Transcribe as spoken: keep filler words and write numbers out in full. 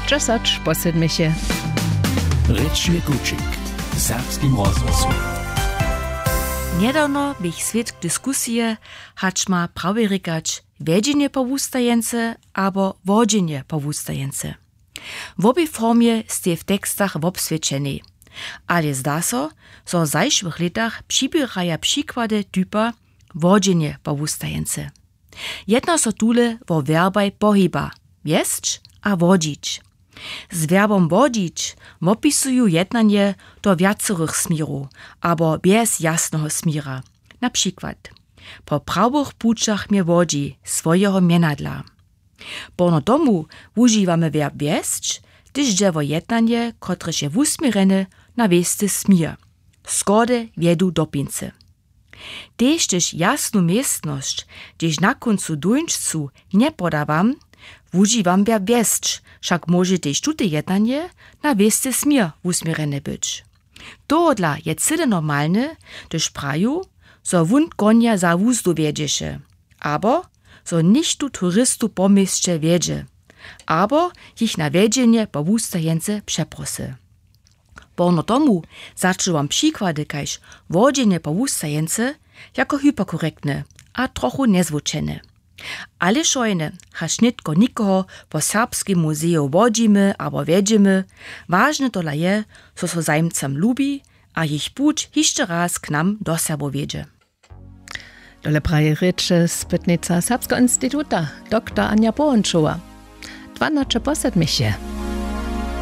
Česać po sedmjeće. Rěčny kućik w serbskim rozhłosu. Njedawno běch swědk diskusije, hač ma prawje rěkać wjedźenje po wustajence abo wodźenje po wustajence. W wobej formje stej w tekstach wobswědčenej, ale zda so, zo w zašłych lětach přiběraja přikłady typa wodźenje po wustajence. Jedna so tule wo werbaj pohiba wjesć a wodźić. Z werbom wodźić wopisuju jednanje do wjacorych směrow abo bjez jasneho směra. Na přikład: po prawych pućach mje wodźi swojeho mjenadla. Porno tomu wužiwamy werb wjesć, hdyž dźe wo jednanje, kotrež je wusměrjene na wěsty směr, schody wjedu dopincy. Tež hdyž jasnu městnosć, hdźež na kóncu dóńčcu, njepodawam, wužiwam werb wjesć, wšak móže tež tute jednanje na wěsty směr wusměrjene być. Tohodla je cyle normalne, hdyž praju, zo wón konja za wuzdu wjedźeše, abo zo něchtó turistow po měsće wjedźe, abo jich na wjedźenje po wustajence přeprosy. Porno tomu začuwam přikłady kaž wodźenje po wustajence jako hyperkorektne a trochu njezwučene. Ale wšojne, hač nětko někoho po Serbskim muzeju wodźimy abo wjedźemy, wažne tola je, zo so zajimcam lubi a jich puć hišće raz k nam do Serbow wjedźe. Tole praji rěče spytnica Serbskeho instituta, doktor Anja Połončowa. Dwanaće po sedmjeće.